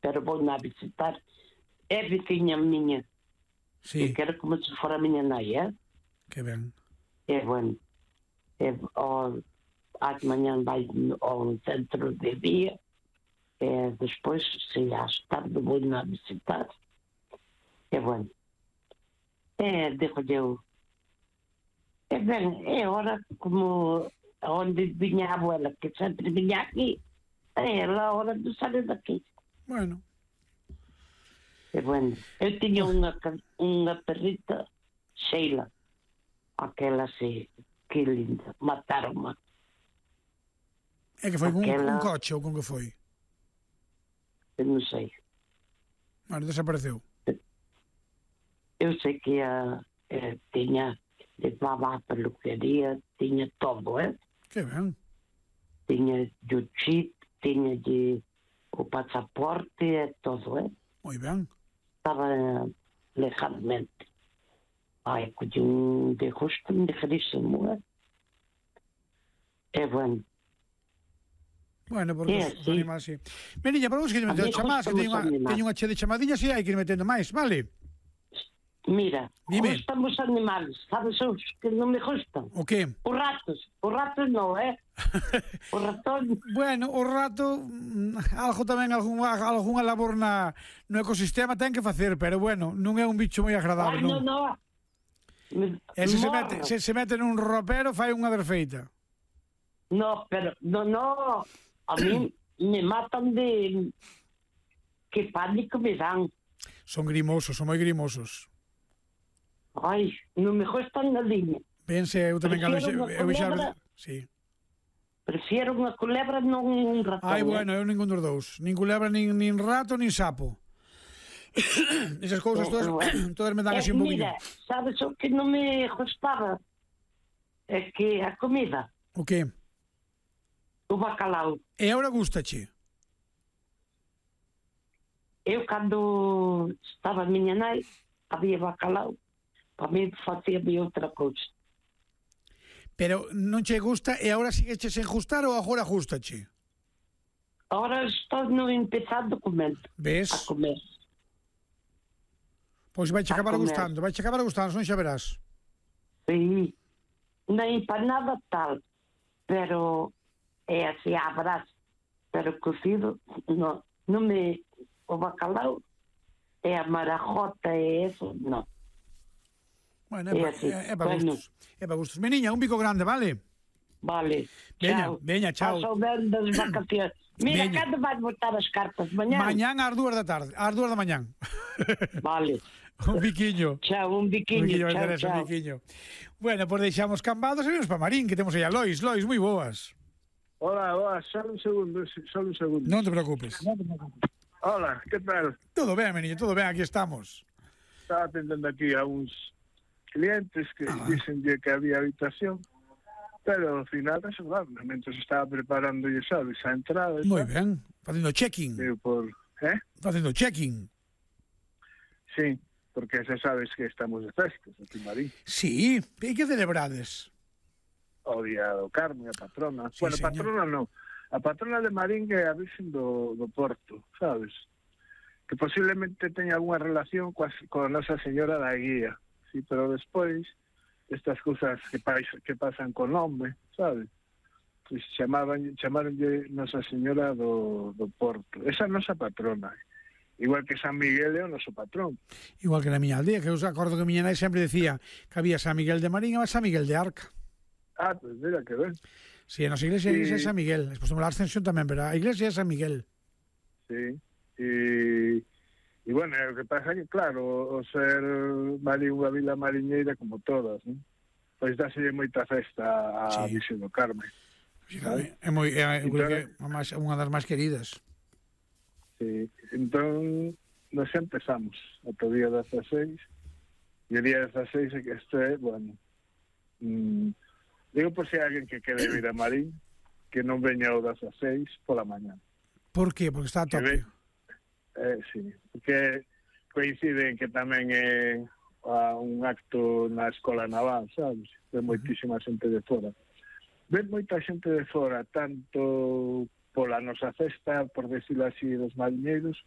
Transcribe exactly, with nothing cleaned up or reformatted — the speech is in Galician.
pero vou na visitar. É vizinha miña. Sí. E quero como se fora a miña nai, eh? Que ben. É bueno. É, ao, ás manhã vai ao centro de día, e despois, se ás tarde, vou na visitar. É bueno. É, digo eu, é ben, é hora como onde vinha a abuela, que sempre vinha aqui, é a hora de sair daqui. Bueno. É bueno. Eu tiña unha, unha perrita, Sheila, aquela sí, que linda, mataron-ma. É que foi Aquela... un, un coche ou con que foi? Eu non sei. Bueno, desapareceu. Eu sei que a, eh, tiña, levaba a peluquería, tiña todo, eh? Que ben. Tiña o chip, tiña de, o pasaporte e todo, eh? Moi ben. Estaba legalmente. Ai, que un de justo, un ligerísimo, eh? É bueno. Bueno, porque é, os, os sí. animais, sí. Meniña, para vos que lle metendo chamadas, que teño unha, teño unha che de chamadiñas e hai que ir metendo máis, vale? Mira, Dime. gustan os animales, sabes os que non me gustan? O que? Os ratos, os ratos non, eh? O ratón... Bueno, o rato, algo tamén, algunha, algunha labor na, no ecosistema ten que facer, pero bueno, non é un bicho moi agradable, Ai, non, non? non. Me, E se se morro. mete, se se mete nun ropero, fai unha derfeita. No, pero, no, no, a mí me matan de... Que pánico me dan. Son grimosos, son moi grimosos. Ai, non me gustan nadiña. Pense, eu tamén cando eu xa... Sí. Prefiero unha culebra non un ratón. Ai, bueno, eu ningún dos dous. Nin culebra, nin, nin rato, nin sapo. Esas cousas todas, bueno, todas me dan así un poquinho. Mira, sabes o que non me gustaba? É que a comida. O que? O bacalao. E agora gustache? Eu, cando estaba a miña nai, había bacalao. Para mí facía-me outra cousa. Pero non che gusta e agora sigueche sen gustar ou agora gustache? Agora estou no empezando a comer. Ves? A comer. Pois vai che acabar gustando, vai che acabar gustando, non xa verás. Sí. Nem para nada tal. Pero é así, a brás. Pero cocido, non. Non me... O bacalao é a marajota e eso, non. Bueno, é, é, é para gustos. É para gustos. Meniña, un bico grande, vale? Vale. Veña, chao. veña, chao. Paso ben das vacacións. Mira, veña. Cando vais botar as cartas? Mañán? Mañán ás dúas da tarde, ás dúas da mañán. Vale. Un biquiño. Chao, un biquiño. Un biquiño, chao, Teresa, chao. Un biquiño. Bueno, pois pues deixamos cambados e vimos para Marín, que temos aí a Lois. Lois, moi boas. Hola, hola, só un segundo, só un segundo. Non te preocupes. Non te preocupes. Hola, que tal? Todo ben, meniño, todo ben, aquí estamos. Estaba atendendo aquí a uns clientes que ah. dicen que había habitación, pero ao final reservaron, mentre estaba preparando, ya sabes, a entrada. Moi ben, facendo checking. Eu por, eh? Facendo checking. Sí, porque xa sabes que estamos de festas aquí en Marín. Sí, e que celebrades? O Día do Carme, a patrona. Sí, bueno, señor. patrona non. A patrona de Marín é a Virxen do, do Porto, sabes? Que posiblemente teña alguna relación coa, coa Nosa Señora da Guía, sí, pero despois estas cousas que, pa, que pasan con nome, sabes? Pues chamaban, chamaronlle Nosa Señora do, do Porto. Esa é a nosa patrona. Igual que San Miguel é o noso patrón. Igual que na miña aldea, que eu acordo que miña nai sempre decía que había San Miguel de Marín e San Miguel de Arca. Ah, pues mira que ben. Sí, a nosa iglesia é San Miguel. Despois temos a Ascensión tamén, pero a iglesia é San Miguel. Sí. E, e bueno, o que pasa é que, claro, o ser Marín unha vila mariñeira como todas, ¿no? Pois dáselle moita festa a sí. Virxen do Carme. Sí, é moi é, é, é unha das máis queridas. Sí. Entón, nos empezamos ata o día dezaseis. E o día dezaseis é que este, bueno... Mmm, digo por si hai alguén que quere vir a Marín, que non veña o dezaseis pola mañá. Por qué? Porque está a tope. Eh, sí, porque coinciden que tamén é a, un acto na Escola Naval, sabes? Ven moitísima xente de fora. Ven moita xente de fora, tanto pola nosa festa, por decirlo así, dos mariñeiros,